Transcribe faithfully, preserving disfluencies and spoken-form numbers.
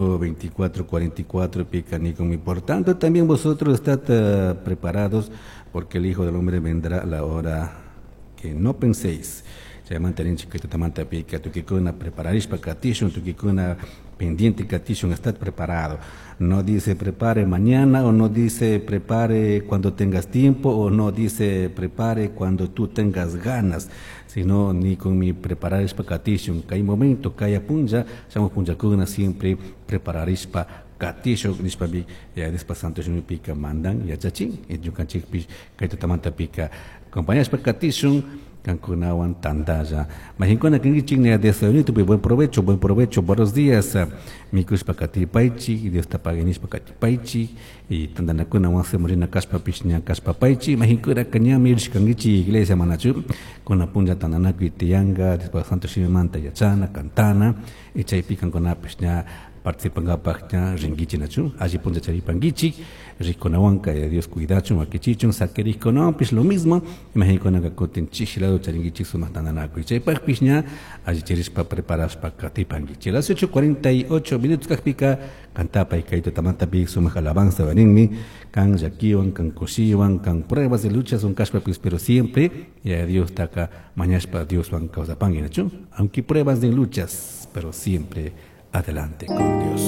veinticuatro cuarenta y cuatro pica ni. Por tanto, también vosotros estad uh, preparados, porque el Hijo del Hombre vendrá a la hora que no penséis. Chaymanta rinchik kaytatamanta pica tukikuna prepararishpa katishun, tukikuna pendiente katishun, estad preparado. No dice prepare mañana, o no dice prepare cuando tengas tiempo, o no dice prepare cuando tú tengas ganas, sino ni con mi prepararishpa katishun. Kay momento, kay punlla, shamuj punllakuna siempre prepararishpa katishun nishpami Diospa santo shimipika mandan yachachin. Ñukanchikpish kay tutamanta pika acompañashpa katishun kankunawan tandalla. Majinkuna kankichik desayunito, buen provecho, buen provecho, buenos días. Mikushpa katipaychik, Dios ta pagui nishpa katipaychik, y tandanakuna wasiman rina kashpapish ña kashpapaychik. Majinkuna ñami rishkankichik iglesia manachu, kuna punlla tandanakuy tiyanka, Diospa santo shimimanta yachana, cantana, y chaypi kankunapish ña participankapak ña rinkichik nachu, alli punlla charipankichik, rikunawanka Dios cuidachun, wakichichun, saquirikunawanpish lo mismo, imaginkunaka kutin chishi lado charinkichik sumak tandanakuy, chaypakpish ña alli chirishpa preparashpa katipankichik. Las ocho cuarenta y ocho minutos kakpika cantapay kay tutamantapi sumak alabanza baninmi, kan llakiwan, kan kushiwan, kan pruebas de luchas son kashpapis, pero siempre ya Dios taka mañashpa Dioswan kawsapanki nachu, aunque pruebas de luchas, pero siempre adelante con Dios.